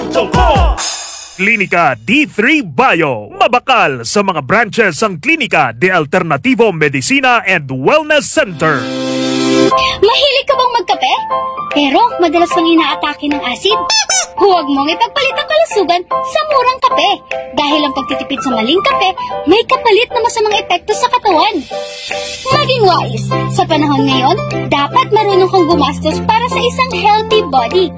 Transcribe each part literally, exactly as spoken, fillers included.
Soko! Klinika D three Bio. Mabakal sa mga branches ang Klinika de Alternativo Medicina and Wellness Center. Mahilig ka bang magkape? Pero madalas kang inaatake ng asid? Huwag mong ipagpalit ang kalusugan sa murang kape, dahil ang pagtitipid sa maling kape may kapalit na masamang epekto sa katawan. Maging wais. Sa panahon ngayon, dapat marunong kang gumastos para sa isang healthy body.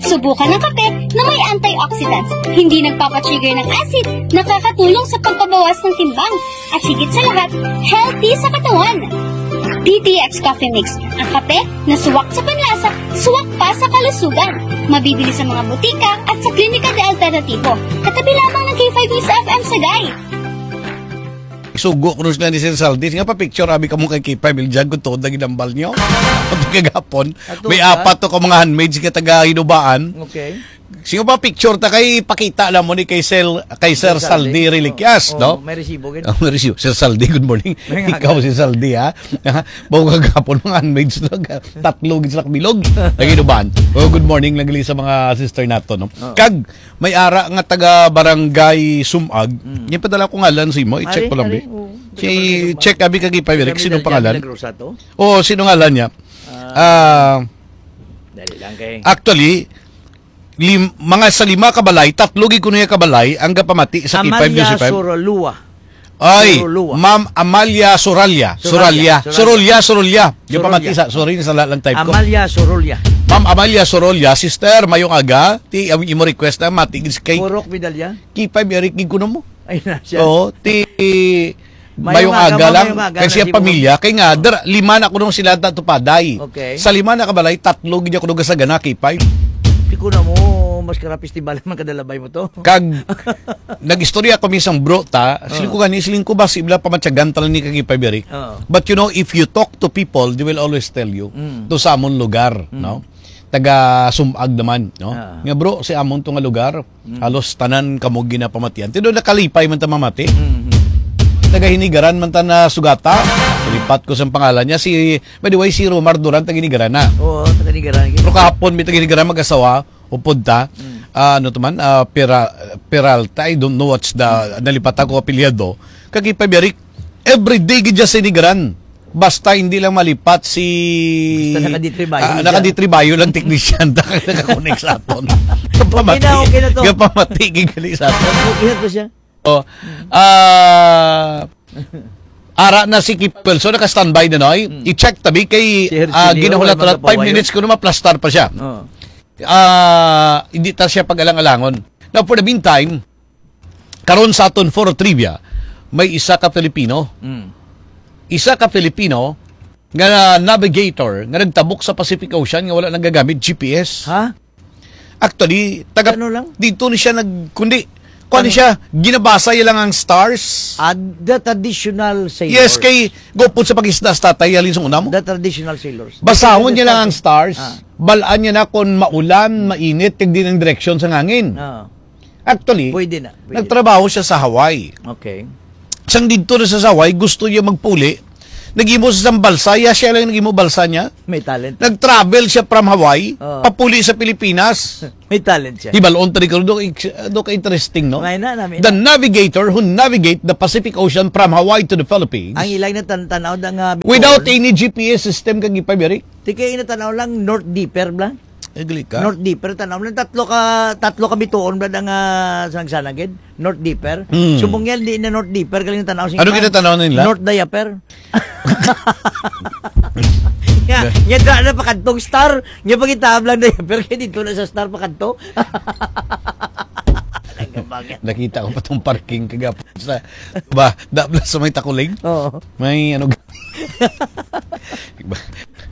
Subukan ang kape na may antioxidants, hindi nagpapatrigger ng acid, nakakatulong sa pagpabawas ng timbang, at higit sa lahat, healthy sa katawan. D T X Coffee Mix, ang kape na suwak sa panlasa, suwak pa sa kalusugan. Mabibili sa mga butika at sa Klinika de Alternativo. Katabi lamang ng K five News F M Sagay. Sugo ko sila ni Sir Saldi. Nga pa picture, abi ka mo kay K five Bill Jug kung tuod na ginambal nyo. Ang kagapon, Ato may ka? Apat to ka mga handmaids nga taga Hinubaan. Okay. Sige pa picture ta kay pakita lang mo ni kay Sel, kay Sir Saldi Reliquias, Oo, no? May resibo gid. Ang resibo, Sir Saldi, good morning. May Ikaw nganga. Si Saldi, ha? Bago kagapon, mga handmaids lang. Tatlo gid sila kabilog. Nag-inuban. Oh, good morning lang gali sa mga sister nato, no? Oo. Kag, may ara nga taga barangay Sumag. Yung padala ko ngalan sa imo, i-check Ari, ko lang, ari, bi. oo. Si, check, abi, kag K five Bill Jug, sino pangalan? Grosa to? Oo, sino ngalan niya? Ah, Ah, dali lang kay. Actually, lim, mga sa lima kabalay, tatlo gid kuno nga kabalay ang gapamati sa K five News F M. Sorolua. Ay, Sorolua. Ma'am Amalia Soralya. Soralya. Soralya. Sorolya, Sorolya. Yung Sorolya. pamati sa, sorry, sala lang type ko. Amalia Sorolya. Ma'am Amalia Sorolya, sister, mayong aga. Ti, ang imo request na mati gid kay Purok Vidalya. K five Eric gid kuno mo. Ay na siya. Oo, ti Mayong mayong aga, aga ma'am, lang. mayong aga, Kay siya nasibo ko. Pamilya, kay nga der, lima na kuno sila ta tupaday. Okay. Sa lima na kabalay, tatlo gid ako nung sa gana K five. Di ko na mo mas kara festival man kadalabay mo to. Kag nagistorya kami sang bro ta, siling ko gani, siling ko ba si ibla pamatyagan talan ni kag K five Eric. Oo. But you know, if you talk to people, they will always tell you Mm. to sa amon lugar, no? Taga Sumag naman, no? Ah. Nga bro, si amon to nga lugar, halos tanan kamo ginapamatian. Tido nakalipay man ta mamati. Mhm. Taga Hinigaran man ta na sugata. Lipat ko sa pangalan niya. Si, by the way, si Romar Duran, taga Hinigaran na. Oo, taga Nigaran. Pero kahapon, may taga Hinigaran mag-asawa, upod ta. Mm. Ah, ano to man? Ah, Pera, Peralta, I don't know what's the, nalipat ako apelyado. Kag K five Eric, every day gid siya sa Hinigaran. Basta hindi lang malipat si Basta naka-D three Bio Ah, siya. naka-D three Bio lang technician. Naka-connect sa aton. Kapamati. Okay na, okay na to. Kapamati, gigali sa aton. Okay na to siya. Oh, ah, ara na si Kip Wilson, naka-standby na, noy. I-check tabi kay Si Hercilio, ah, ginahulat-hulat. wala man Five kapawayo. Minutes ko na maplastar pa siya. Oo. Ah, hindi ta siya pag-alang-alangon. Now, for the meantime, karon sa aton for trivia, may isa ka Filipino. Mm. Isa ka Filipino nga navigator nga nagtabok sa Pacific Ocean nga wala nagagamit G P S. Ha? Actually, taga Ano lang? dito ni siya nag kundi kuan ni siya, ginabasa niya lang ang stars. Ah, the traditional sailors. Yes, kay gupod sa pag-isda sa tatay, halin sa una mo. The traditional sailors. Basahon niya lang ang stars. Ah. Balaan niya na kung maulan, mainit, kag din ang direksyon sa hangin. Ah, Actually, pwede na. Pwede. nagtrabaho siya sa Hawaii. Okay. Sang dito na sa Hawaii, gusto niya magpuli. Nag-imo sa isang balsa, iya siya lang nag-imo balsa niya. May talent. Nag-travel siya from Hawaii, Oo. papuli sa Pilipinas. May talent siya. Hibalon tali ko, do, do ka interesting, no? May na, nami The na. navigator who navigate the Pacific Ocean from Hawaii to the Philippines Ang ilay na tan-, tanaw da nga bituon. Without any G P S system kag ipabiri. Di kay natanaw lang North Dipper bla. Agli ka? North Dipper, tanaw lang tatlo ka, tatlo ka bituon bla nga sa nagsanagid. North Dipper. Mm. Subong yan, di na North Dipper, galing tanaw sing Ano ginatanaw nila? North Diaper. Ya, ya da na pakadtong star. Nya pagitaab lang diaper kay dito na sa star pakadto. Talaga ba yan? Nakita ko pa tong parking kagapon sa ba, dabla sa may Takuling. Oo. May ano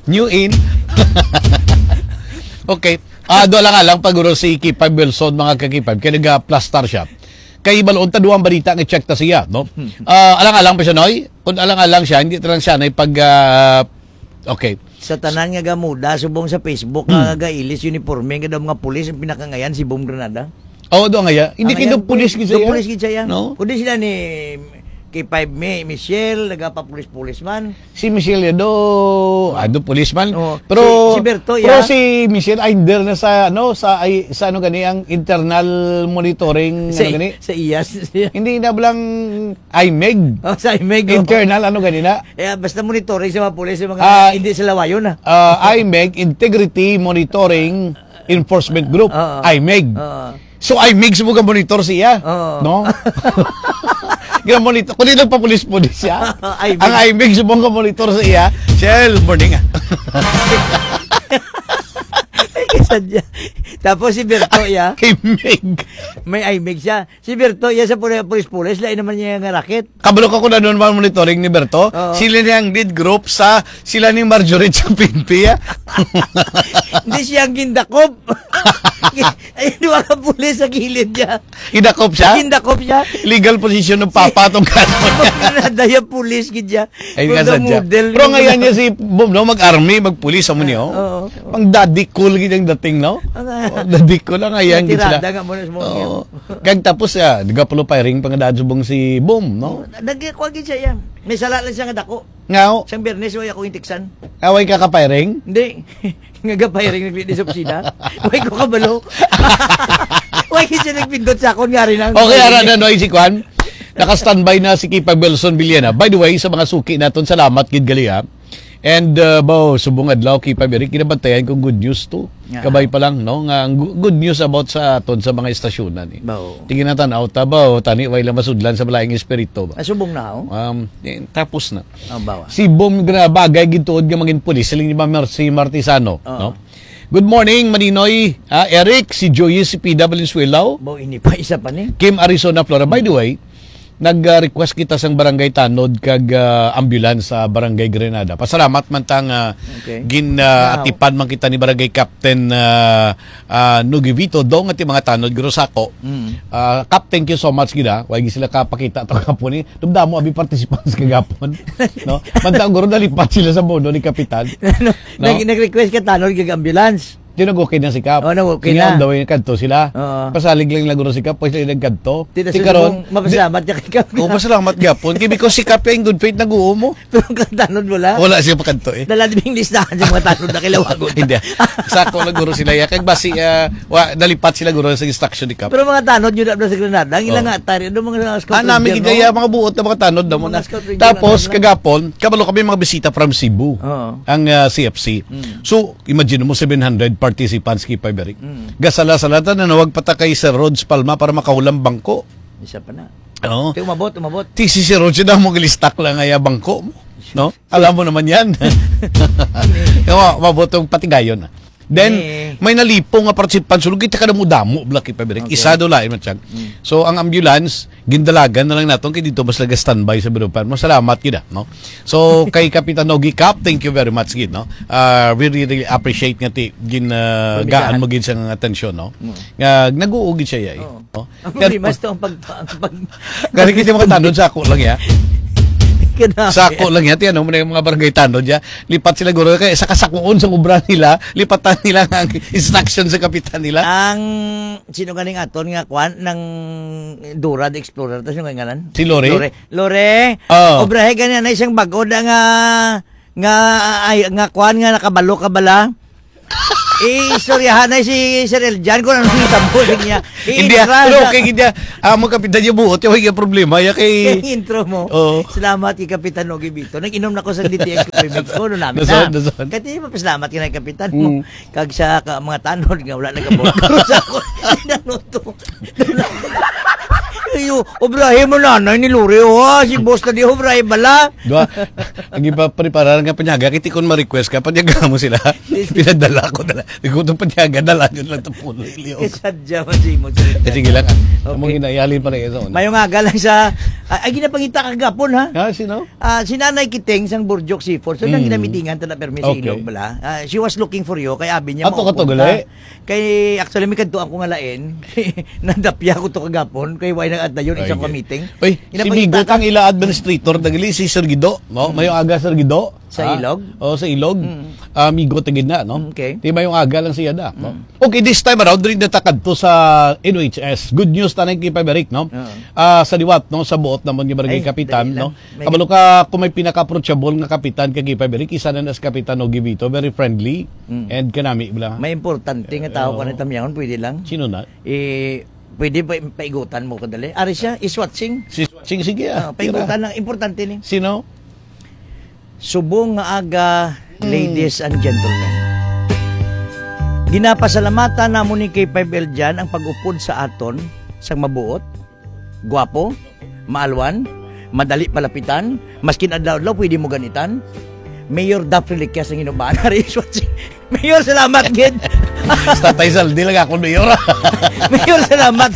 New in. Okay. Ah, do lang lang paguro si Kipay Wilson, mga kakipay, kay nag-plastar siya. Kay balon ta duwang balita nga check ta siya, no? Ah, alang-alang pa siya, noy? Kung alang-alang siya, hindi ta lang siya na pag ah, okay. Sa tanan nga gamuda, subong sa Facebook, nga gailis uniforme, nga daw mga pulis, ang pinakangayan si Bom Granada. Oh, do nga ya. Hindi Ang kayo ngayan, pulis gid do siya. pulis gid siya. No? Kundi sila ni K five Mi, Michelle, nagapapulis-pulis man. Si Michelle Yado, ado policeman. Oh, Pero, si, si Berto, pero yeah. Si Michelle, ay, under na sa, ano, sa, ay, sa, ano gani, ang internal monitoring, Sa, ano gani? sa iyas. Hindi na blang IMEG. Oh, sa IMEG, oh. Internal, ano gani na? Eh, basta monitoring sa mga pulis, sa mga Ah, hindi sa lawayon, ah. Ah, IMEG, Integrity Monitoring Enforcement Group, Oo. IMEG. Oo. So, IMEG sa mga monitor siya, Oo. no? Ginamonitor. Kung di nagpapulis-pulis siya, IMEG. Ang IMEG sa mga monitor sa iya, Shell, morning, ah. Ay, kasadya. Tapos si Berto, ya. IMEG. May IMEG siya. Si Berto, ya, sa puli-, pulis-pulis, lain naman niya nga racket. Kabalo ka kung ano naman monitoring ni Berto? Oo. Sila ni ang lead group sa, sila ni Marjorie sa P N P, ah. Hindi siya ang gindakop. Ay, duha ka pulis sa kilid niya. Gindakop siya? Gindakop siya. Legal position ng papa tong kanon. Nadaya pulis gid siya. Ay, From nga the sadya. model Pero yung ngayon niya si Boom, no? Mag-army, mag-pulis, amo niyo. Oo. Pang daddy cool gid ang dating, no? Ang, ah, Oh, daddy cool ang ayan gid sila. Tirada nga mo na sa mga Oo. Kag tapos, ah, nagapulo firing pa nga daan subong si Boom, no? Nagkuha gid siya, iya. May sala lang siya nga dako. Nga, oh. Siyang Biyernes, way ako intiksan. Away ka ka-firing? Hindi. Nga ga-firing nagli sa opisina. Way ko kabalo. Way kasi nagpindot sa akon nga rin ang Okay, ara na, no, si Kwan. Naka-standby na si Kipag Wilson Villena. By the way, sa mga suki naton, salamat gid gali, ha. And, uh, bao, subong adlaw, Kipag Eric, kinabantayan kong good news to. Yeah. Kabay pa lang, no? Nga ang gu-, good news about sa aton sa mga estasyonan, eh. Bao. Tingin na tanaw, ta, bao, tani, way lang masudlan sa malaing espiritu, ba? Ah, subong na, oh. Um, eh, tapos na. Oh, bawa. Si Bom nga bagay gid tuod nga mangin pulis, siling ni Mar-, si Martisano, Oo. no? Good morning, Maninoy, ah, Eric, si Joyce, si P W Suelaw. Bo, ini pa, isa pa ni. Kim Arizona, Flora. By the way, nag-request kita sang barangay tanod kag, ah, ambulance sa Barangay Grenada. Pasalamat man ta nga Okay. gin, ah, Wow. atipan man kita ni Barangay Captain, ah, ah, Nugivito, dong ati mga tanod, guro sako. Mm. Ah, Kap, thank you so much gid, ah. Way gid sila kapakita to kapon, eh. Dumdamo abi participants kagapon, no? Mantang guro nalipat sila sa mono ni Kapitan. No? Nag-, nag-request ka tanod kag ambulance. Di nag-okay na si Kap. Oh, nag-okay Kanya na. on the way, nagkadto sila. Oo. Pasalig lang nila guro si Kap, pwede sila nagkadto. Di na Di sila karon, mong mapasalamat di- ka kay Kap. Oh, pasalamat gapon. Kay because si Kap kay in good faith nag-uo mo. Pero ang tanod wala. Wala siya makadto, eh. Dala din yung listahan sa mga tanod na kailangan. Hindi. Sako lang guro sila, ya. Kag basi, ah, wa, nalipat sila guro sa instruction ni Kap. Pero mga tanod, yun na sa Granada. Ang ilang Oh. nga atari, ano mga scout Ah, namin ranger, gid no? ya, mga buot na mga tanod na mo Mga na. scout ranger Tapos, na tanod. kagapon, kabalo kami mga bisita from Cebu. Oo. Ang, ah, C F C. Mm. So, imagine mo, seven hundred participants, Kipay Berik. Mm. Gasala-sala, ta, nanawag pa ta kay Sir Rods Palma para makahulam bangko. Isa pa na. Oo. Kaya umabot, umabot. Ti si Sir Rods, na mo gilistak lang nga ya bangko mo. No? Alam mo naman yan. Kaya umabot ang patigayon na. Then, Eh. may nalipo nga participant, sulog kita ka damo-damo, Black Kipay Berik. Okay. Isa do lain man siya. Mm. So, ang ambulance, gindalagan na lang naton kay dito mas laga standby sa Birupan. Masalamat gid, ah, no? So, kay Kapitan Nogi Cap, thank you very much gid, no? Ah, we really, really appreciate nga ti gin, ah, Permisahan. gaan mo gid sa nga atensyon, no? Mm. Nga nag-uugid siya, yay. Oo. No? Ang Pero problema ito, ang pag-, ang pag- Gani kita mga tanod, sako lang ya. Grabe. Sako lang ya, ti ano mo na yung mga barangay tanod ya. Lipat sila guro kay sa kasakuon sa obra nila, lipatan nila nga ang instruction sa kapitan nila. Ang sino ganing aton nga kwan ng Dora the Explorer, tas yung ngalan? Si Lore? Lore. Lore, Oh. obrahe gani na isang bag-o na nga, nga, ay, nga kwan nga nakabalo ka bala. Eh, istoryahan na si Sir Eljan kung ano yung tampo sa niya. Hindi, ah, I-intro pero na. okay, hindi, ah. Ah, mo kapitan niya buot, yung yung problema, ya kay Yung intro mo. Oo. Salamat kay Kapitan Nogi Vito. Nag-inom na ko sa D T X Coffee Mix ko, no namin Nason, na. nason. Kaya di ba, salamat ka na, Kapitan mo. Mm. Kag sa ka-, mga tanod nga wala nagkabot. Pero sa ako, ano to? Ayo, obrahe mo nanay ni Lore, oh, ha? Si boss na di obrahe bala. Dua, ang iba preparar nga panyaga, kiti kon ma-request ka, panyaga mo sila. Pinadala ko na lang. Ikaw itong panyaga, dala yun lang ito puno, iliw. Eh, sadya man si mo, sir. Eh, sige lang, ah. Okay. Among ginayalin pa na yun, oh. Mayong aga lang sa, ah, ay, ginapangita kagapon, ha? Ha, sino? Ah, si Nanay Kiting, sang Burjok Seafood. So, nang Mm. ginamitingan, tala permi sa Okay. ilog, bala. Ah, she was looking for you, kay abi niya Ato ka to, maupunta. gali? Kay, actually, may kadto ako nga lain. Nadapya ko to kagapon, kay why nag Ayun, isa Very ka good. meeting. Uy, Ina si pa Migot kita ka? ang ila administrator, nagali si Sir Gido, no? Mm. Mayong aga, Sir Gido. Sa Ah, Ilog? oh, sa Ilog. Mm. Ah, Migot na gid na, no? Okay. Di mayong aga lang siya da, no? Mm. Okay, this time around, rin natakad to sa N O H S. Good news tanan kay Paberic, no? Oo. Ah, sa liwat, no? Sa buot naman nga barangay Ay, kapitan, dali no? lang. May Kabalo ka kung may pinaka-approachable nga kapitan kay Paberic, isa na nas kapitan, no, Givito, very friendly Mm. and kanami lang. May importante nga tao Oo. ka na tamyaon, pwede lang. Sino na? Eh, pwede ba paigutan mo kadali? Ari siya, is watching. Si Swatching, sige, ah. Ah, Tira. paigutan lang. Importante ni. Sino? Subong nga aga, Hmm. ladies and gentlemen. Ginapasalamatan namo ni K five L Jan ang pag-upod sa aton sang mabuot, gwapo, maalwan, madali palapitan, maskin adlaw-adlaw pwede mo ganitan. Mayor Daph Reliquias ang Ginobaan. Ari, Mayor, salamat gid. Sa Tatay Saldi lang ako, Mayor. Mayor, salamat.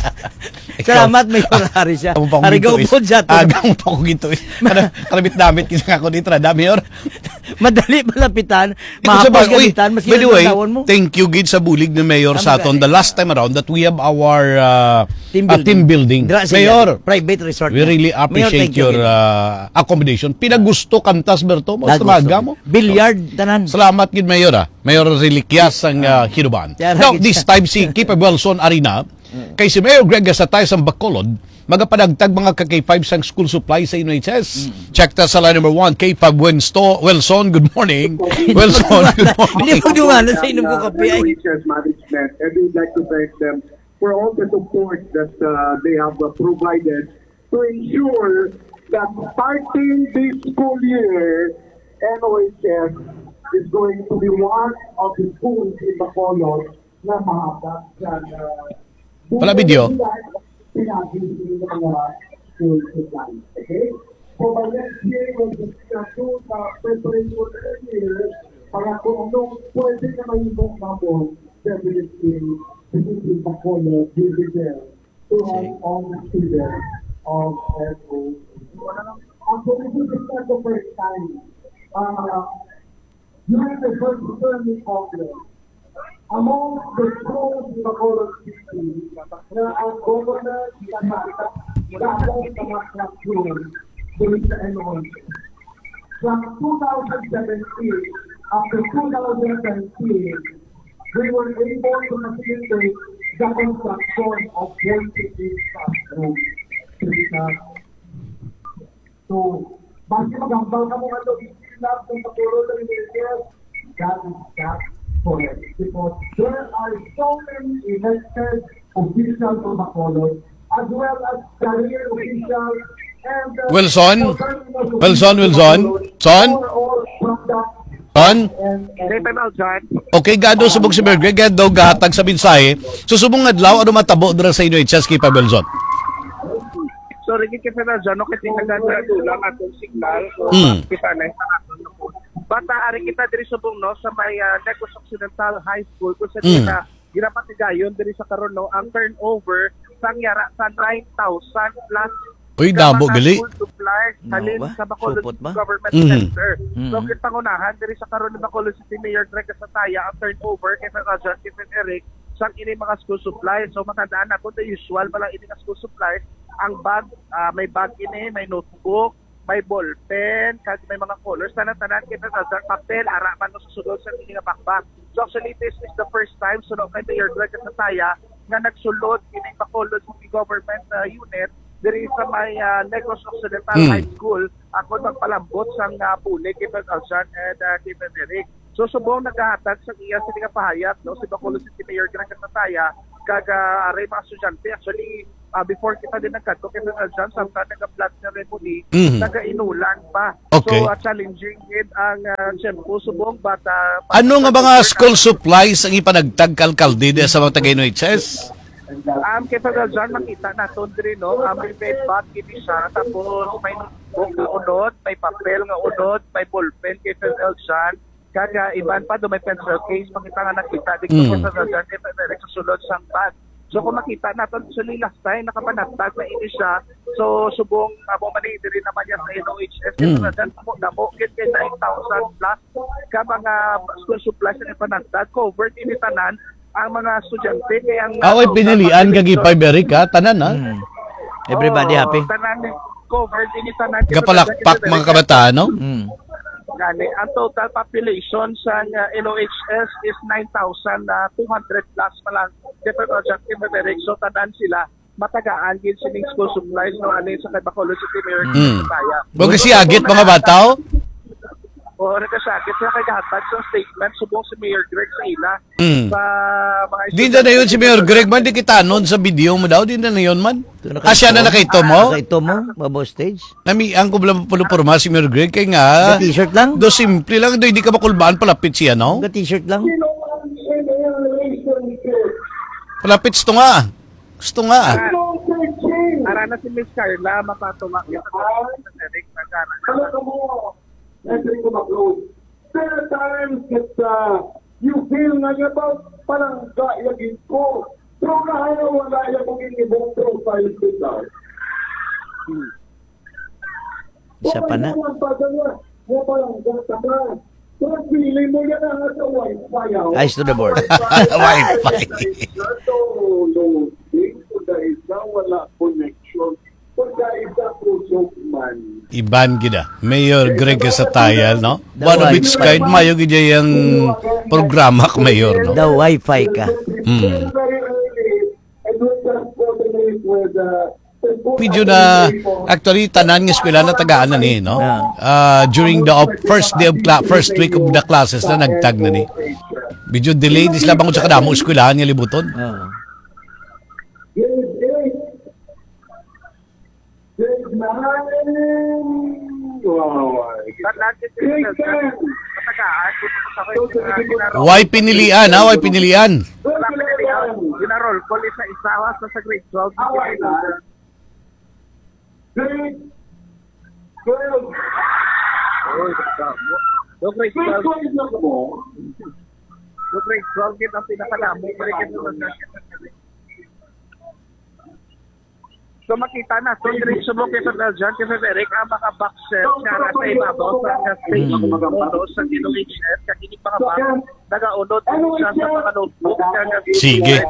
Ikaw, Salamat, Mayor. Ari siya. Ang pangit Ari, ito, eh. gaupod siya to. Agang pa ko gito, eh. Ano, karabit-damit, kisa nga ako dito, da, Mayor. Madali malapitan, Ito sa mahapos ba-, uy, gamitan, mas by the way, ginagawon mo. thank you gid sa bulig ni Mayor Tama sa aton ka. the last time around that we have our, uh, Team uh, building. team building. Dra sila, Mayor, private resort we na. really Mayor, appreciate thank you your, gid. uh, accommodation. Pinagusto kantas, Berto, mo, Nagusto. Tamaga mo. Billiard, tanan. Salamat gid, Mayor, ah. Mayor Reliquias ang, ah, Hinuban. Kaya Now, lagi this siya. time, si K five Wilson Arena, Mm. kay si Mayor Greg Gasatay sang Bacolod, magapanagtag mga ka K five sang school supply sa N O H S. Mm. Check ta sa line number one, K five Winsto-, Wilson, good morning. Wilson, good Hindi morning. mo dumana sa inom ko kape, ay. N O H S management, and we would like to thank them for all the support that, uh, they have, uh, provided to ensure that starting this school year, N O H S is going to be one of the schools in Bacolod na mahatag sa, uh, Wala video. pinagis ng mga school supplies. Okay? So, by next year, we'll be sa preparation earlier para kung anong pwede na mahimo namin, definitely, this is Bacolod, we will be there to help Okay. all the students of F O. Actually, this is not the first time. Uh, during the first Permit Congress, among the schools in Bacolod City, na ang governor pinatapos sa mga classroom dito sa N O H. From two thousand seventeen up to two thousand nineteen, we were able to facilitate the construction of forty-eight classrooms. So, basta maghambal ka mo nga daw, hindi lang kung patuloy ng Pilipinas, that is not correct. Because there are so many elected officials of Bacolod, as well as career officials, and, uh, Wilson? Governors of Wilson, Bacolod, Wilson? Son? Who are all from that Son? and, and Dave, I'm out, John. Okay, gado subog si Berg. Kaya daw gahatag sa mensahe. So, subong adlaw, ano matabo dira sa inyo, H S K pa, Wilson? Sorry, gid kay Fernando, no, kasi nagdadula-dula ang atong signal. So, Mm. kita na sa aton na po. Bata, ari kita diri subong, no, sa may, ah, Negros Occidental High School, kung sa Mm. kita, ginapatigayon diri sa karon, no, ang turnover sang yara sa nine thousand plus Uy, ka damo mga gali. school supplies No, halin ba? sa Bacolod Supot ba? Government Mhm. Center. So, Mhm. ginpangunahan diri sa karon ni Bacolod City Mayor Greg Gasataya ang turnover kay Fernando John, kay Fred Eric, sang ini mga school supplies. So, matandaan nato, the usual pa lang ini nga school supplies. Ang bag, ah, may bag ini, may notebook, may ballpen, kag may mga colors. Tanan-tanan kay Fred John, papel, ara man sa sulod sa ini nga backpack. So, actually, this is the first time, suno kay Mayor Greg Gasataya, nga nagsulod ining Bacolod City Government, ah, Unit diri sa may, ah, Negros Occidental Hmm. High School, aron magpalambot sang, ah, bulig kay Fred John and, ah, kay Fred Eric. So, subong nagahatag sa iya sini nga pahayag, no, si Bacolod City Mayor Greg Gasataya, kag, ah, aray mga estudyante. Actually, ah, before kita din nagkadto kay Fred John, samtang naga-plot ni Remoni, Mhm. nagainulan pa. Okay. So, ah, challenging gid ang, ah, tiyempo subong, but, ah, Ano nga mga school supplies ang ipanagtag ka alkalde diya sa mga taga N O H S? Um, kay Fred John, makita naton diri, no? Ah, may, may bag ini siya, tapos may notebook nga unod, may papel nga unod, may ballpen kay Fred John. Kag, ah, iban pa, do may pencil case, makita nga nakita dito Mm. kay Fred John, kay Fred Eric sa sulod sang bag. So, kung makita naton, actually, last time, nakapanagtag na ini siya. So, subong, amo man ni, diri naman niya sa N O H S, Mm. Fred John, damo, damo, gid kay nine thousand plus ka mga school supplies na ipanagtag, covered ini tanan ang mga estudyante, kay ang Aw, ay, pinilian ka, Gipay Beric, ha? Tanan, ha? Mm. Everybody Oo, happy? Tanan, covered ini tanan. Gapalakpak, mga kabataan, no? Mm. Gani, ang total population sa, uh, L O H S is nine thousand two hundred plus pa lang. Different project in the direction, tanan sila matagaan gid sining school supplies, no, ani sa kay Bacolod City Mayor Mm. Kaya. Wa kasi agit, mga bata, oh. Oo, nagkasakit sila kay gahatag sa statement subong si Mayor Greg sa ila Mm. sa mga Di na na yun si Mayor Greg man, di kita nun sa video mo daw, di na na yun man. Ito na Ah, siya na kaito mo? Nakaito mo, babo stage? Nami, ang kubla pulupurma si Mayor Greg, kay nga, Ga t-shirt lang? Do simple lang, do hindi ka makulbaan palapit siya, no? Ga t-shirt lang? Palapit ito nga. Gusto nga. Ara, ara na si Miss Carla, mapatumak niya sa Eric, nagkara. There are times that, uh, you feel nga nga ba, palangga ya gid ko. Pero kahaya wala ya ko ginibong profile ko daw. Isa pa na. Wala lang pa daw ya. Nga palangga ka na. Pero feeling mo yan ang sa wifi, ah. Eyes to the board. Wifi. Ito, loading. Kung dahil ka, wala connection. Pagka isa kusog man. Iban gid, ah. Mayor Greg Casatayal, no? The One of its wifi. Kind, mayo gid yang programa ka, Mayor, no? The wifi ka. Mm. Very early, and we just coordinate with, uh, Medyo na, actually, tanan nga eskwela na tagaan na ni, no? Ah. Ah, during the op-, first day of cla-, first week of the classes na nagtag na ni. Medyo delay, di sila bangod sa kadamo eskwelahan nga libuton. Ah. Grade eight. Grade nine. Wow. Grade ten. Why pinilian, ha? Why pinilian? Wala pinilian. Gina-roll call isa-isa, ha, sa, sa grade twelve. Grade twelve. Uy, grade twelve. Grade twelve na po. Grade twelve, yun ang pinakadamo. So, makita na. So, diretso mo kay Sir Eljan, kay Sir Eric, ang mga boxes nga nasa ibabaw sa mga stage. Mm. Uno sa L O H S, kag ining mga box, nagaunod siya sa mga notebook nga nasa Sige.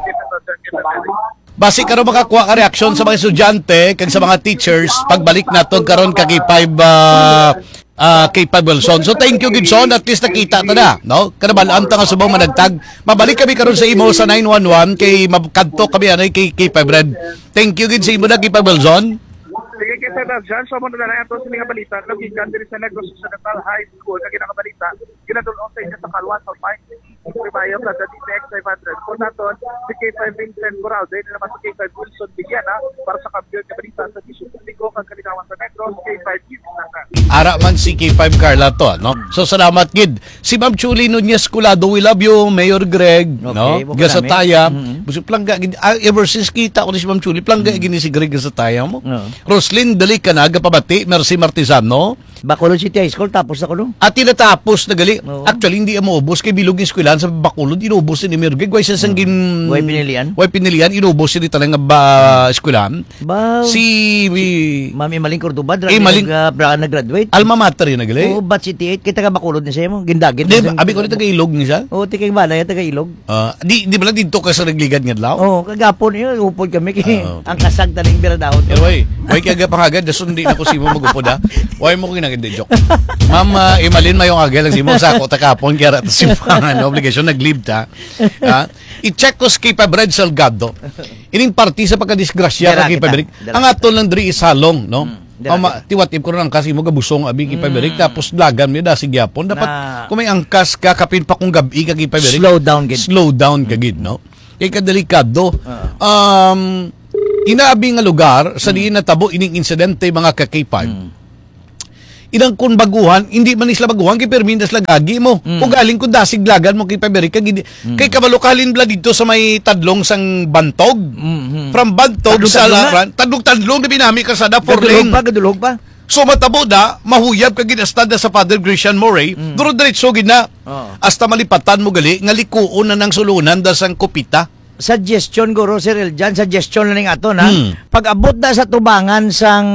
Basi karon makakuha ka reaksyon sa mga estudyante kag sa mga teachers pagbalik nato karon ka K five, ah, ah, K five Wilson. So, thank you gid, Son. At least nakita ta na, no? Kanabalaan ta nga subong managtag. Mabalik kami karon sa imo sa nine one one kay mab-, kadto kami anay kay K five Red. Thank you gid sa imo na, K five Wilson. Sige, K five Wilson. So, muna na lang ito sa mga balita. Nagikan diri sa Negros Occidental High School. Kag ginakabalita, ginadulong sa inyo sa Kalwa, sa Pine Primayo, sa D T X five hundred. Kung naton, si K five Vincent Corral, din naman si K five Wilson Villana, para sa kampiyon nga balita sa Bisyo Publiko kag Kalinawan sa Negros, K five News Naga. Ara man si K five Carla to, no? So, salamat gid. Si Ma'am Chuli Nunez Colado, we love you, Mayor Greg, Okay, no? Bukas Gasataya. Namin. Mm-hmm. Busog plangga gid. Ah, ever since kita ko ni si Ma'am Chuli, plangga Mm. gini si Greg Gasataya mo. Oo. Roslyn, dali ka na, gapabati, Mercy Martizano. Bacolod City High School, tapos na kuno. At tinatapos na gali. Oo. Actually, hindi mo ubos kay bilog yung eskwelahan sa Bacolod, inubos ni Mayor Greg. Why siya sang Mm. gin-, Why pinilian? why pinilian? Inubos ni tanan nga ba eskwelahan? Ba, Si, si Ma'am Emaline Cordova, dra-, Emaline nag-, ah, bra-, nag-graduate. Alma mater yun, nagali? Oo, batch eighty-eight. Kay taga Bacolod ni siya mo. Gindagit Di, na siya. Abi ko rin taga Ilog ni siya? Oo, taga Balay, taga Ilog. Ah, di, di ba lang dito ka sa Nagligan nga adlaw? Oo, kagapon yun, upod kami. Oo. Ang kasag taning biradahon. Pero, oy, oy, kaya pangagad, dason di na ko simo mag-upod, ha? Why mo ko ginagad, joke. Ma'am, ah, Emaline, mayong aga lang simo. Sa ako, takapon, kaya ra-, simpangan, obligation, nag-leave ta. Ha? I-check ko sa K five Red Salgado. Ining parti sa pagkadisgrasya Dara ka K five kita, Red. Dara Ang kita. aton lang diri is halong, no? Mm, dara Ang ma-, kita. Tiwat-ip ko rin ang kasi mo gabusong abi K five Red. Mm. Tapos lagan mo yun, dasig yapon. Dapat Na kung may angkas ka, kapin pa kung gabi ka K five Red. Slow down gid. Slow down ka gid, no? Kay kadelikado. Ah. Um, inaabi nga lugar sa Mm. diin natabo ining insidente, mga ka K five. Mm. Inang kun baguhan, hindi man sila baguhan, kay permi na sila gagi mo. Mm. O galing kun dasig lagan mo kay Paberi, kay gidi-, Mm. kay kabalo ka halin bala dito sa may tadlong sang Bantog. Mm-hmm. From Bantog Tadlong-tadlong sa na? Laran, tadlong-tadlong na binami kasada, four Gadulhog lane. pa, gadulhog pa. So, matabo na, mahuyab ka gid hasta da sa Father Grecian Moray, Mm. duro diretso gid na. Oo. Hasta malipatan mo gali, nga likuon na nang sulunan da sang Kupita. Suggestion, guro, Sir Eljan, suggestion na ning aton, ha? Hmm. Pag-abot na sa tubangan sang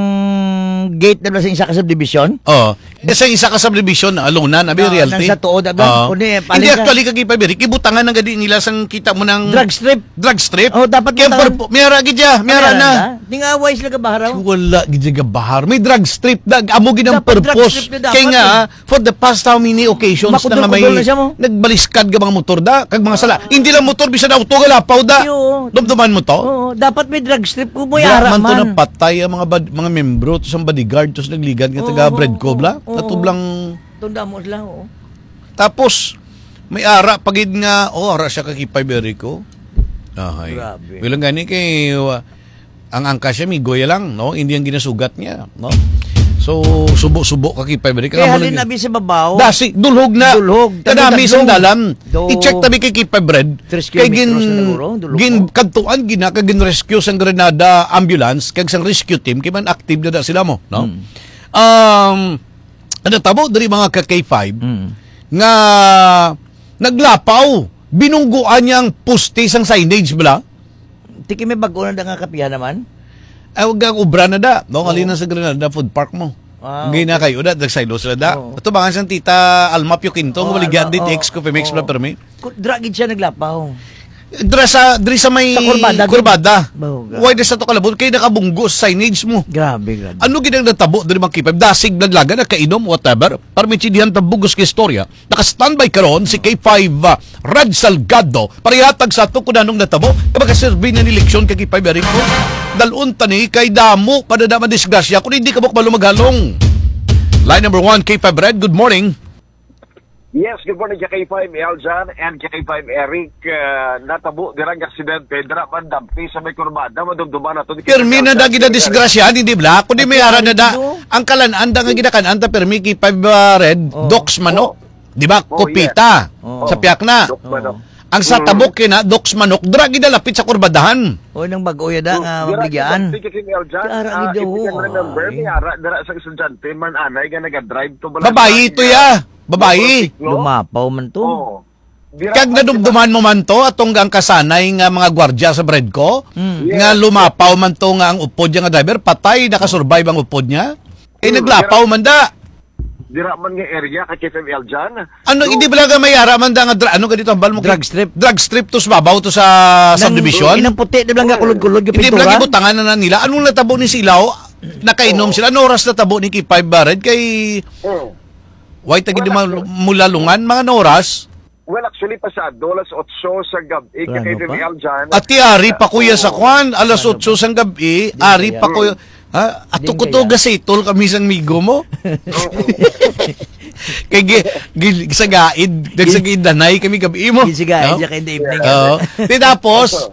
gate na sa isa ka subdivision? Oo. Eh, sa isa ka subdivision, ah, luna na, may Oo, realty. nang sa tuod, abi. Oo. Kundi, eh, Hindi, paling ka actually, kag ipabirik, ibutangan na gadi nila sang kita mo ng Drug strip. drug strip. Oh, dapat Kaya butangan. purpo-, may ara gid ya, may ara May ara na. na. Ningaway sila gabaharaw? Wala gid siya gabahar. May drag strip na. Amo gid ang Dapat drag purpose. strip na dapat Kay nga, eh. for the past how many occasions na nga may Makudol-kudol na siya mo. nagbaliskad ka mga motor da, kag mga sala. Hindi lang motor, bisan auto nga lapaw da. Yo. Dumduman mo to? Oo, dapat may drag strip kung may Wala ara man to man. napatay ang mga bad-, mga membro, to sa bodyguard, to sa nagligad nga Oo, taga Bredco, oo, bla? oo. Natublang Tunda mo sila, oo. Tapos, may ara pa gid nga, oh, ara siya ka K five Eric, oh. Ahay. Grabe. Bilang gani kay, uh, ang angkas siya, migoy lang, no? Hindi ang ginasugat niya, no? So, subo-subo ka K five Eric. Kaya Ang amo halin lang abi sa babaw. Dasi, dulhog na. Dulhog. Kadami Tanda sang dulhog. dalan. Do. I-check tabi kay K five Red. Tres Kay gin-, kilometros na siguro, dulhog gin-, mo. kadtuan gina, kag gin-rescue sang Granada Ambulance, kag sang rescue team, kay man active na da sila mo, no? Hmm. Um, Ano tabo diri, mga ka K five, Mm. nga naglapaw, binungguan niya ang poste sang signage bala. Tiki may bago na da nga kapihan naman? Ay, wag ang obra na da. No, Oo. Halina sa Granada Food Park mo. Ah, Hindi na okay. kayo da, nagsaylo sila da. Oo. Ito ba nga siyang tita Alma Pio Quinto, Oo, nga waligyan Alma, di oo, T X Coffee Mix oo. bala permi? Ku-, dra gid siya naglapaw. Dra sa, diri sa may Sa kurbada, gid. kurbada. Bahuga. Why di sa to kalabot? Kay nakabunggo sa signage mo. Grabe, grabe. Ano gid ang natabo diri, mga K five? Dasig, naglaga, nakainom, whatever. Para may tsindihan ta bugos ka istorya. Naka-standby karon si K five, ah, Rad Salgado. Para ihatag sa ato kung anong natabo. Kaya makaserbi na ni leksyon kay K five Eric mo. Dalon tani kay damo pa na naman disgrasya kung hindi ka mo kabalo maghalong. Line number one, K five Red, good morning. Yes, good morning, K five Eljan and K five Eric. Ah, natabo dira nga aksidente, dira man dampi sa may kurbada, madumduman nato ni Permi Eljan na dagi na Perez. disgrasya, hindi bla? Kundi may Ate, ara na da. Arido. Ang kalan-an da nga ginakan-an ta, permi kay five, ah, red, Oh. doks manok. Oh. Di ba? Oh, Kopita. yes. Oh. Sa piyak na. Doks manok. Oh. Ang sa Mm. tabok kina, doks manok, dira gid lapit sa kurbadahan. Oh, nang bag-o yada So, nga dira mabligaan. gid dampi kay Eljan. Dara Ah, gid if you can daw. remember, Ay. may ara dira sa estudyante, man anay nga nagadrive to Balatang Babayi to nga ya. Babayi. Motorsiklo. Lumapaw man to. Oo. Dira Kag pa nadumduman mo man to, atong ang kasanay nga mga gwardya sa Bredco, Mm. nga Yes. lumapaw man to nga ang upod niya nga driver, patay, nakasurvive ang upod niya. Eh, Mm, naglapaw dira, man da. dira man nga area kay K F M L dyan. Ano, So, hindi ba lang may ara man da nga dra-, ano ganito, hambal mo, Drug strip. drug strip to sa babaw to sa Nang, subdivision? inang puti, di ba lang nga Oo. kulod-kulod yung Hindi ba lang pintura? ibutangan na, na nila? Anong natabo ni Silaw? Nakainom Oo. sila? Ano oras natabo ni K five Barad? Kay Oo. Why tagi Well, di man actually, mula lungan, mga ano oras? Well, actually, pasado alas otso sa gabi, Plano kay pa? Fidel dyan. Ati, ari pa kuya sa Oo. kwan, alas Plano otso pa? sang gabi, Di ari kaya. pa kuya. Ha? Ato Di ko to kaya. gasitol kami sang migo mo. Oo. Kay gi-, gi-, sa gaid, Gi-, sa gidanay kami gabi mo. Gisigaid No? siya kay in the evening. Oo. Di tapos, So,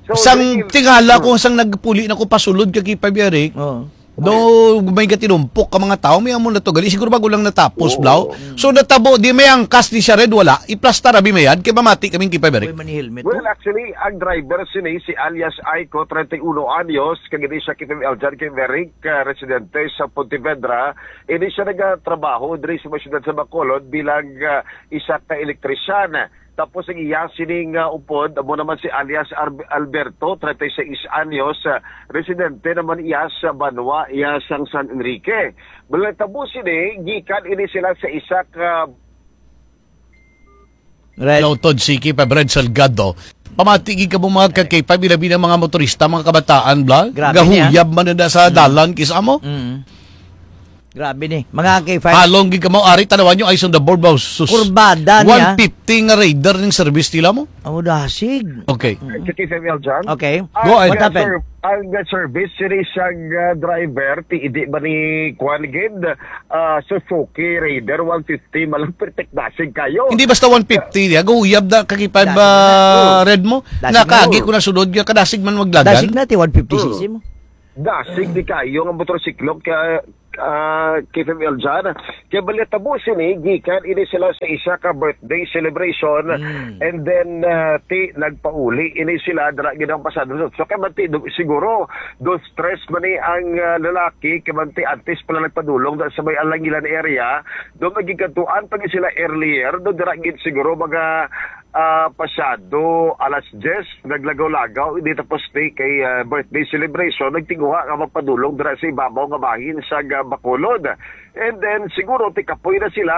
so, sang during tingala ko, Hmm. sang nagpuli na ko pasulod ka kay Pabiarik, Oo. Do, may gatinumpok ka mga tao, may amo na to. Gali, siguro bago lang natapos, Oo. Blau. So, natabo, di may angkas ni siya, Red, wala. Iplastar, abi, mayad. Kay mamati kaming kay Pabiarik. Uy, mani helmet, Well, oh. actually, ang driver sini, si alias Aiko, treinta y uno anyos, kag ini siya kay Fidel dyan, kay Merrick, ah, residente sa Pontevedra. Ini siya nagatrabaho diri sa may siyudad sa Bacolod bilang, ah, isa ka elektrisyan. Tapos ang iya sining, ah, upod, amo naman si alias Arb-, Alberto, treinta y seis anyos, ah, residente naman iya sa banwa iya sang San Enrique. Nagtabo sini, gikan ini sila sa isa ka Red. Lautod, Siki, pa Red Salgado. Pamati gid ka mo mga ka-, kay pamilya-pamilya, mga motorista, mga kabataan, bla? Grabe niya. Gahuyab man na sa Mm. dalan, kisa mo? Mm. Grabe ni. Mga K five. Halong gid ka mo, ari, tanawan nyo, eyes on the board, bro. Sus. Kurbada niya. One fifty nga radar ning service nila mo? Amo dasig. Okay. Mm. Sa K five L dyan? Okay. Go ahead. What happened? Ang, uh, ser-, ang, uh, service, sini siyang, uh, driver, ti, hindi ba ni Kwan gid? Uh, Suzuki Raider one fifty, malang perfect dasig kayo. Hindi basta one fifty, ya, guyab na kaki five, Dasig na. uh, Oh. red mo. Dasig na. Nakaagi ko na sunod, ya, kadasig man maglagan. Dasig na, ti one fifty Mm. C C mo. Dasig di kayo nga motorsiklo ka, ah, K F M L dyan. Kaya bali tabo sini, gikan ini sila sa isa ka birthday celebration. Mm. And then, ah, ti, nagpauli ini sila, dira gid ang pasado. So, kaya man ti, do-, siguro, do stress man ni ang, ah, lalaki, kaya man ti, antes pala nagpadulong da sa may Alangilan area, do magigatuan pa ni sila earlier, do dira gid siguro mga Ah, pasado alas diyes, naglagaw-lagaw ini tapos day kay, ah, birthday celebration, nagtinguha nga magpadulong dira sa ibabaw nga bahin sa ga-, Bacolod. And then, siguro, tikapoy na sila,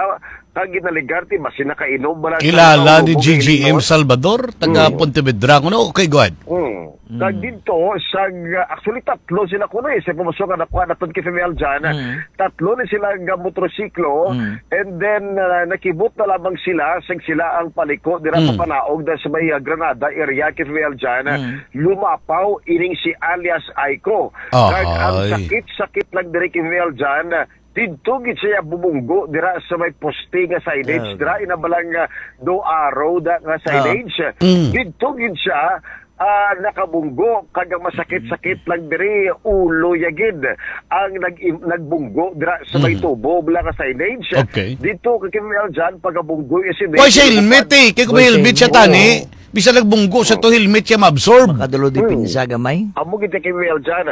kag ginaligar, ti, basi nakainom ba lang sa Kilala ni naulubog G G M kaingon? Salvador, taga Mm. Pontevedra. Kuno, okay, go ahead. Mm. Kag Mm. dito, sa, actually, tatlo sila kuno eh, sa impormasyon nga nakuha naton kay Femel Jan. Mm. Tatlo ni sila nga motorsiklo, Mm. and then, ah, nakibot na lamang sila, sang sila ang paliko dira Mm. papanaog na sa may, ah, Granada area kay Femel Jan. Mm. Lumapaw ining si alias Aiko. Kag ang Ahay. sakit-sakit lang diri kay Femel Jan, didto gid siya bumunggo dira sa may poste nga signage, Ah. dira ina balang, ah, do arrow da nga Ah. signage. Mm. Didto gid siya, ah, nakabunggo kag ang masakit-sakit lang diri, ulo ya gid ang nag-, nagbunggo dira sa may Mm. tubo bala nga signage. Okay. Didto kay Femel Jan, pagabunggo ya si Why siya helmet eh? Kay kung may Why siya helmet siya helmet? tani, Oo. bisan nagbunggo sa Oo. to, helmet siya maabsorb. Makadalo di Hmm. pinsa gamay. Amo gid kay Femel Jan.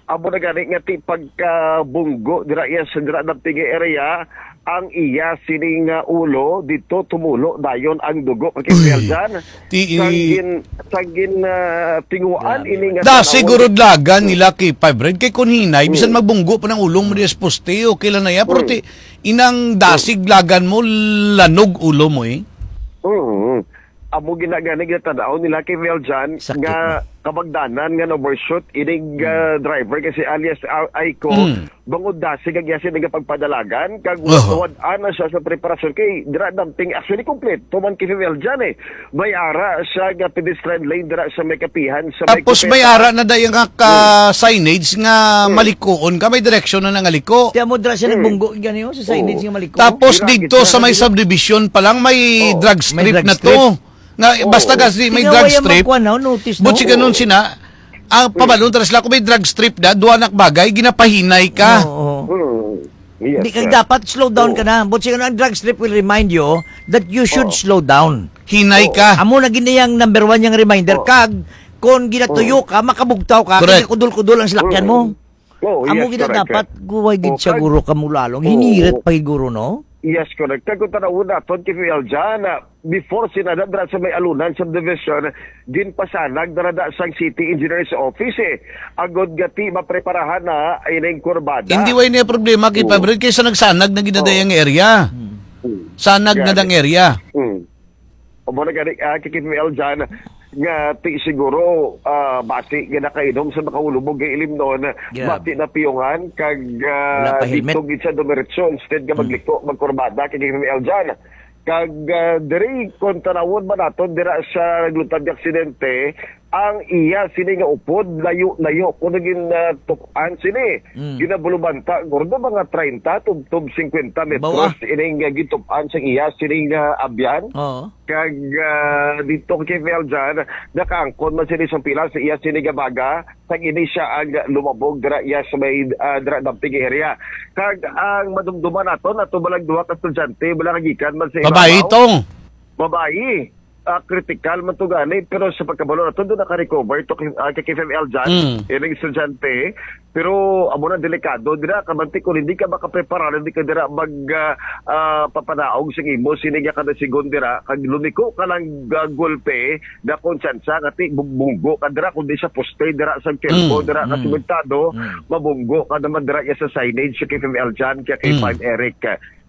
Amo na gani nga ti pagkabunggo dira iya sa dira damping area, ang iya sining, ah, ulo dito tumulo dayon ang dugo kay Uy. Femel Jan. Ti-, Sang gin-, sang gin, ah, tinguan Grabe ini man. nga Da, tanaw. Siguro dlagan nila kay Five Red kay kun hinay, bisan Hmm. magbunggo pa ng ulong mo di sa poste, okay lang na yan. Pero Hmm. ti, inang dasig lagan mo, lanog ulo mo eh. Hmm. Amo ginagani ginatanaw nila kay Mel Jan Sakit nga na. kabagdanan nga na-overshoot ining, Hmm. ah, driver kasi alias, ah, Aiko. Hmm. Bangod dasig ang iya sini nga pagpadalagan, kag Oho. wad-an na siya sa preparasyon. Kay dira damping, actually, kompleto man kay Femel Jan eh. May ara siya nga pedestrian lane dira sa may kapihan, sa may Tapos may Copeta. ara na dayon nga ka Hmm. signage nga Hmm. malikuon ka, may direksyon na nangaliko. Kaya mo dira siya Hmm. nagbunggo, gani, oh, sa signage Oo. nga maliko. Tapos Dira, dito gitna sa na may dira. subdivision pa lang, may Oh, drug may strip drug na strip. to. Nga, Oo. basta kasi may Tingawa drug yung strip, magkuha na, notice na. butsi Oo. ganun sina, ang Hmm. pabalon, taras lang, kung may drug strip na, duwa na bagay, ginapahinay ka. Oo, oo. Hmm. Yes, Di ka sir. dapat slow down Oo. ka na. But siguro ang drug strip will remind you that you should Oo. slow down. Hinay Oo. ka. Amo na gid iyang number one yang reminder. Oo. Kag, kung ginatuyo Oo. ka, makabugtaw ka, Correct. kaya kudol-kudol ang salakyan mo. Mm. Oo, Amo yes, gid ang correct, dapat, correct. guway gid Oo, siya, kag-, guro, ka mulalong. oo. Hinirit pa gid, guro, no? Yes, correct. Kag kung tanawon naton, kay Mel Jan, na before sina nadra sa may Alunan Subdivision, ginpasanag na rada sang City Engineer's Office, eh. Agod nga ti mapreparahan na ining kurbada. Hindi way niya problema kay Oo. Pabrik kaysa nagsanag na ginadayang Oo. area. Hmm. Hmm. Sanag na Gani. dang area. Hmm. O mo na gani, ah, kay Kim L. Jan, nga ti siguro, ah, basi nga nakainom sa nakaulubog nga ilimnon, Grabe. basi napiyungan, kag, ah, Wala pa helmet. dito gid siya dumiretso, instead nga Hmm. magliko, magkurbada kay Kim L. Jan. Kag, ah, diri, kung tanawon ba naton, dira sa naglutad nga aksidente, ang iya sini nga upod, layo-layo, kung naging, ah, tup-an sini, Mm. ginabulubanta, gordo, mga treinta, tubtob cincuenta metros, Bawa. ining, ah, gitup-an sa iya sini nga abyan. Oo. Kag, ah, dito kay Mel Jan, nakaangkon man sini sa pila sa iya sini nga baga, kag ini siya ang lumabog dira iya sa may, ah, dira damping area. Kag ang madumduman naton, ato balang duha ka estudyante, bala nga gikan man sa Babae ibabaw. tong. Babae. Ah, critical man to gani, pero sa pagkabalo nato, doon naka-recover to kay, ah, kay K F M L Jan, Mm. ining estudyante. Pero amo na delikado dira, kamanti kung hindi ka makaprepara, hindi ka dira mag, ah, ah, papanaog sa imo, sini nga kada sigon dira, kag lumiko ka lang, ah, gulpe, na kung tsansa nga ti, bug-, bunggo ka dira, kundi sa poste dira sa Kelco, Mm, dira ka mm, simentado, mm. mabunggo ka naman dira iya sa signage sa K F M L Jan, kaya kay Mm. Five Eric.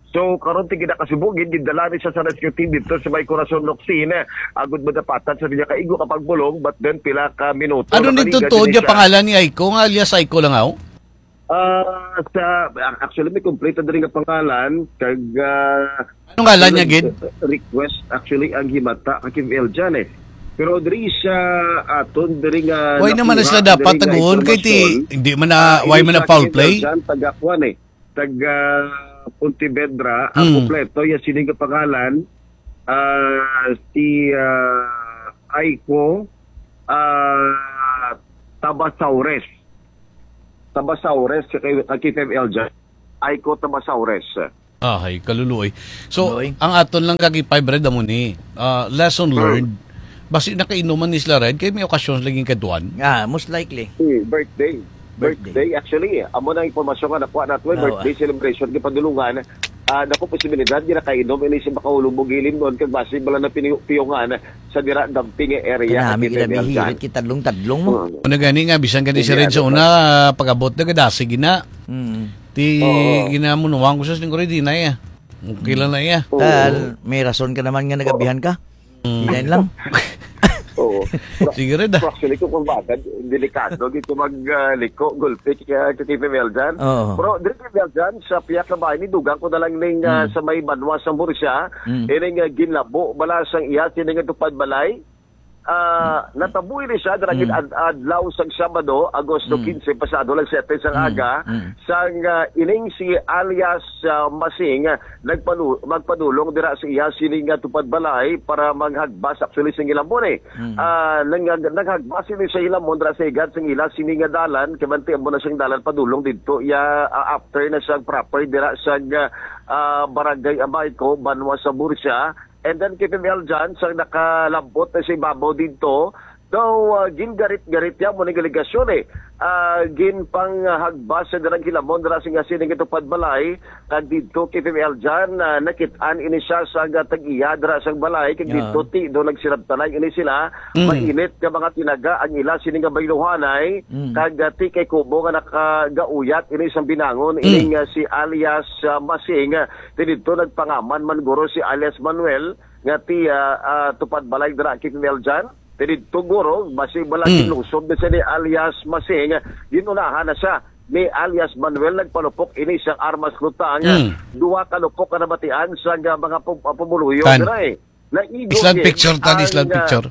So, karon ti ginakasubo, gid-, gindala ni siya sa rescue team dito sa may Corazon Locsin, eh, agud madapatan sa iya kaigo ka pagbulong, but then pila ka minuto Ano nakaliga nito to, din niya siya. pangalan ni Aiko, nga alias Aiko lang, aw? Ah, sa, actually, may kompleto diri nga pangalan, kag, ah, Anong ngalan niya, gid? request, actually, ang himata, kay Kim L. Jan, eh. Pero diri siya aton, diri nga Why naman nakuha, sila dapat diri nga taguon kay ti-, impormasyon, hindi man na, ah, why ini man na siya foul kay Kim L. play? Jan, taga kuan, eh, taga Pontevedra, ang Hmm. kompleto, iya sini nga pangalan, ah, si, ah, Aiko, ah, Tabasaures. Tabasaures, kay, kay Kim L. Jan. Aiko Tabasaures. Ahay, kaluluoy. So, Luoy. ang aton lang kag Five Red amo ni, ah, lesson Hmm. learned. Basi nakainuman ni sila red, kay may okasyon lagi kadtuan. Ah, most likely. Hmm, birthday. Birthday. Birthday, actually, amo na ang impormasyon nga nakuha nato, may Oo, birthday ah. celebration, gipadulungan. Ah, dako posibilidad nga nakainom ini si Makaulubog Ilim noon kag basi bala na piniyo-piyongan sa dira damping nga area. Kanami kita bihirit, kitadlong-tadlong mo. Mm. Ano gani nga, bisan gani si Red sa una, pag-abot na, gadasig gina. Mm. Ti, ginamunuan ko sa lingkod, di na iya. Okay lang na iya. Oo. Tal, may rason ka naman nga nagabihan ka. Mm. Yan lang. Oo. Sige, Red, ah. Actually, kung kumbaga, delikado dito mag, ah, liko, gulpi, kaya kay P M L dyan. Oo. Pero, dito, P M L dyan, sa pihak na bahay ni Dugang, ko na lang ning, ah, sa may banwa sa Murcia, ining, ah, ginlabo, bala sang iya, sini nga tupad balay, ah, natabo ini siya, dira gid ad-, adlaw sang Sabado, Agosto quince, pasado lang siyete sang aga, sang, ah, ining si alias, ah, Masing, nagpanu-, magpadulong dira sa iya sini nga tupad balay para maghagbas actually sa hilamon, eh. Ah, nang-, naghagbas ini sa hilamon dira sa higad sang ila sini nga dalan, kay bantay amo na siyang dalan padulong didto. Iya, ah, after na siyang proper dira sa, ah, Barangay Amayco, banwa sa Murcia. And then, K P M L dyan, sa nakalabot na sa ibabaw didto, daw, ah, gingarit-garit niya mo ning alegasyon, eh. Ah, ginpanghagbas sa dirang hilamon dira sing asining itupad balay, kag didto, K P M L dyan, ah, nakit-an ini siya sa gatag iya dira sang balay, kag didto ti do nagsirabtanay ini sila. Mainit nga mga tinaga ang ila sini nga bayluhanay, kag, ah, ti kay kubo nga nakagauyat ini sang binangon ining, ah, si alias, ah, Masing, ah, ti didto nagpangaman man guro si alias Manuel, nga ti, ah, ah, tupad balay dira, K P M L dyan. Ti didto guro, basi bala ginlusob na siya ni alias Masing, ginunahan na siya ni alias Manuel, nagpalupok ini sang armas lutang. Duha ka lupok nga nabatian sa nga mga pum-, ah, pumuluyo dira, eh. Naigo gid picture ta, ang, ah, picture.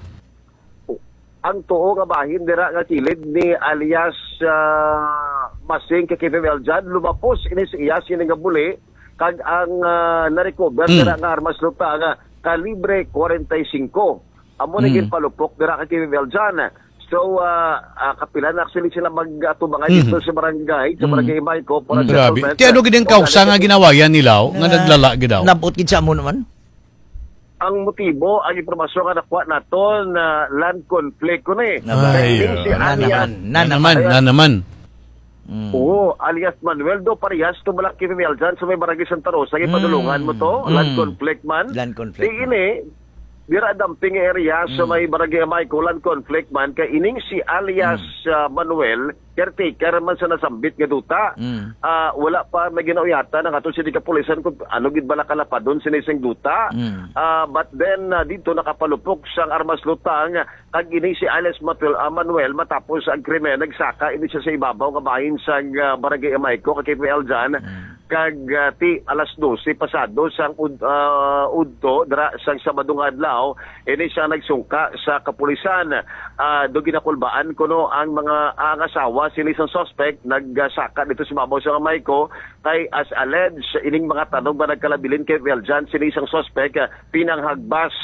Ang tuo nga bahin dira nga kilid ni alias, ah, Masing kay K P M L dyan, lumapos ini sa iya sini nga buli, kag ang, ah, na-recover dira nga armas lutang nga kalibre forty-five. Amo na ginpalupok dira kay K P M L dyan. So, ah, ah, kapila na actually sila mag-atubangan dito sa barangay, sa barangay Amayco, para sa settlement. Grabe. Ti ano gid ang kausa nga ginawayan nila, oh, nga naglala gid daw? Nabot gid sa amo naman. Ang motibo, ang impormasyon nga nakuha naton, na land conflict ko ni. Ay, si alias, na naman, na naman. Oo, alias Manuel do, parehas to bala K P M L dyan sa may barangay Santa Rosa, ipadulungan mo to, land conflict man. Land conflict. Di ini, dira damping area sa may barangay Amayco, land conflict man, kay ining si alias, ah, Manuel, caretaker man sa nasambit nga duta. Ah, wala pa may ginauyatan ang ato sini kapulisan kung ano gid bala kalapadon sini sing duta. Ah, but then, ah, dito nakapalupok sang armas lutang kag ini si alias Manuel, ah, Manuel, matapos ang krimen, nagsaka ini siya sa ibabaw nga bahin sang, ah, barangay Amayco, kay K P M L dyan. Kag, ah, ti alas dose pasado sang ud-, ah, udto, dira sang Sabado nga adlaw, ini siya nagsungka sa kapulisan. Ah, do ginakulbaan kuno ang mga, ang asawa sini sang suspect, nagsaka dito sa babaw sa Amayco, kay as alleged, ining mga tanom nga nagkalabilin kay Weljan, sini sang suspect, ah, pinanghagbas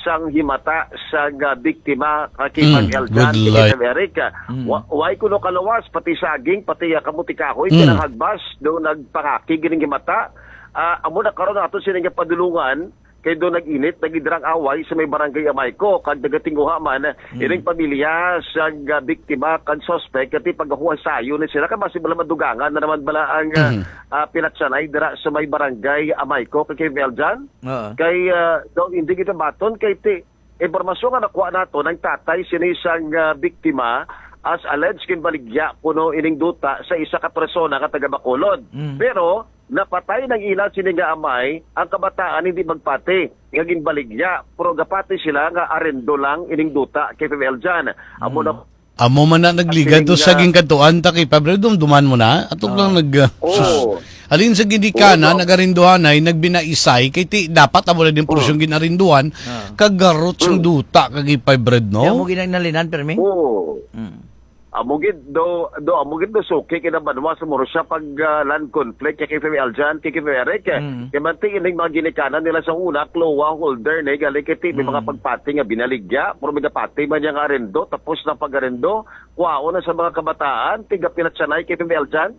sang himata sang, ah, biktima, ah, kay Pang Eljan, kay Lieutenant Eric. Ah, wa-, way kuno kalawas, pati saging, pati, ah, kamuti kahoy, pinanghagbas, do nagpangakig ining himata. Ah, amo na karon ato sini nga padulungan, kay do nag-init, nag-idrang away sa may barangay Amayco, kag nagatinguha man, ining pamilya sang, ah, biktima kag suspect, kati pagahuway sayo ni sila, kay basi bala madugangan na naman bala ang, ah, ah, pinatsanay dira sa may barangay Amayco, kay Eljan. Oo. Kay, ah, daw hindi kita baton kay ti, impormasyon nga nakuha naton, ang tatay sini sang, ah, biktima as alleged ginbaligya kuno ining duta sa isa ka persona nga taga Bacolod. Mm. Pero napatay nang ila sini nga amay, ang kabataan hindi magpati nga ginbaligya, pero gapati sila nga arendo lang ining duta kay P M L dyan. Amo na Amo man na nagligad to sa ginkadtuan ta kay Pablo, dumduman mo na. Ato lang nag, ah, sus. Alin sa ginikanan, nagarinduhanay, nagbinaisay, kay ti, dapat amo na din porsyong ginarinduhan, kagarot sang duta kag ipay bread, no? Kaya mo ginanalinan, permi? Oo. Mm. Amo gid do, do, amo gid do suki kinabanwa sa Murcia pag, ah, land conflict kay K P M L dyan, kay K P M L Eric, eh. Mm. Kay manti ining mga ginikanan nila sa una, klowa holder ni, gali kay ti, may mga pagpati nga binaligya, pero may gapati man niya nga arendo, tapos na pag-arendo, kwaon na sa mga kabataan, tiga pinatsanay kay P M L dyan.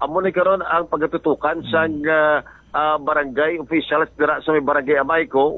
Amo ni karon ang pagatutukan sa, ah, ah, barangay officials dira sa may barangay Amayco,